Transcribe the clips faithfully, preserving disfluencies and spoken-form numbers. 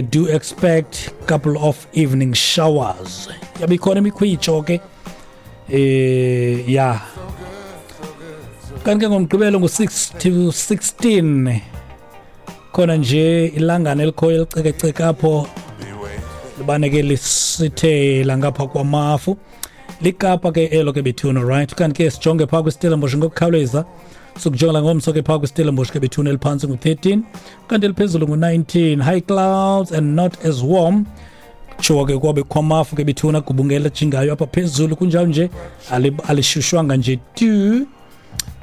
Do expect couple of evening showers. Yabe ikhona imikhwitsho ke, eh ya. Kanti ke ngoMgqibelo ngu-six to sixteen, khona nje ilangana elikhoyo elicekeceke apho, libane ke lisithela ngapha kwamafu. Likapa ke elo ke bethuna, right? Kanti ke sijonge phaa kwiStellenbosch ngokukhawuleza. Sikujonga ngomso ke phaa kwiStellenbosch ke bethuna, eliphantsi ngu-thirteen, kanti eliphezulu ngu-nineteen. High clouds and not as warm. Kutshiwo ke kwabe kukho amafu ke bethuna, gubungela jingayo apha phezulu, kunjalo nje alishushwanga nje tu.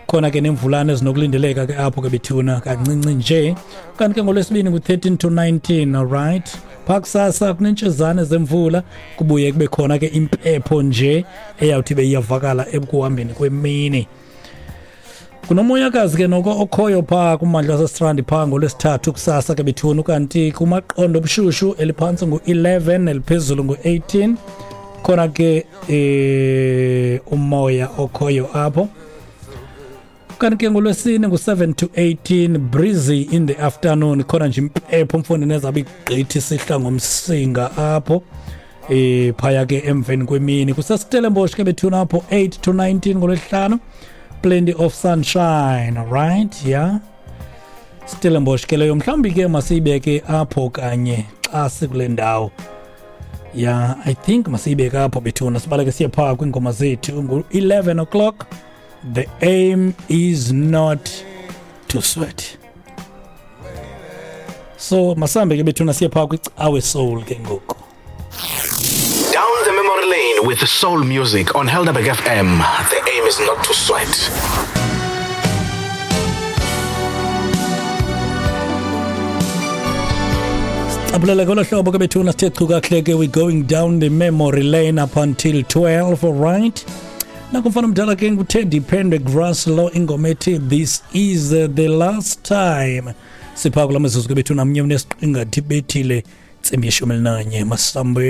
Khona ke nemvulana ezinokulindeleka ke apho ke bethuna, kancinci nje. Kanti ke ngoLwesibini ngu-thirteen to nineteen, alright. Phaa kusasa kunentshezane zemvula, kubuye kube khona ke impepho nje eyawuthi beyiyavakala ekuhambeni kwemini. Kunomoyakazi ke noko okhoyo phaa kummandla waseStrand phaa ngoLwesithathu kusasa ke bethuna. Kanti kumaqondo obushushu, eliphantsi ngu-eleven, eliphezulu ngu-eighteen. Khona ke eh umoya okhoyo apho. Kanti ke ngoLwesine ngu-seven to eighteen, breezy in the afternoon. Khona nje impepho mfondini ezabe igqithi sihla ngomsinga apho eh phaya ke emveni kwemini. KuseStellenbosch ke bethuna apho eight to nineteen ngoLwesihlanu, plenty of sunshine, right? Yeah, Stellenbosch ke leyo. Mhlawumbi ke masiyibeke apho kanye xa sikule ndawo. Yeah, I think masiyibeke apho bethuna, sibaleke siye phaa kwiingoma zethu. Ngu-eleven o'clock. The aim is not to sweat. So masambe ke bethuna siye phaa kwicawe soul ke ngoku. Down the memory lane with the soul music on Helderberg F M. The aim is not to sweat. Cabulele ngolo hlobo ke bethuna, sithe chu kakuhle ke. We going down the memory lane up until twelve, all right? Nakumfana omdala ke nguTeddy Pendergrass lo, ingoma ethi "This Is the Last Time". Sipha kula mizuzu ke bethuna mnye unesiqingathi bethile ntsimbi yeshumi elinanye. Masambe.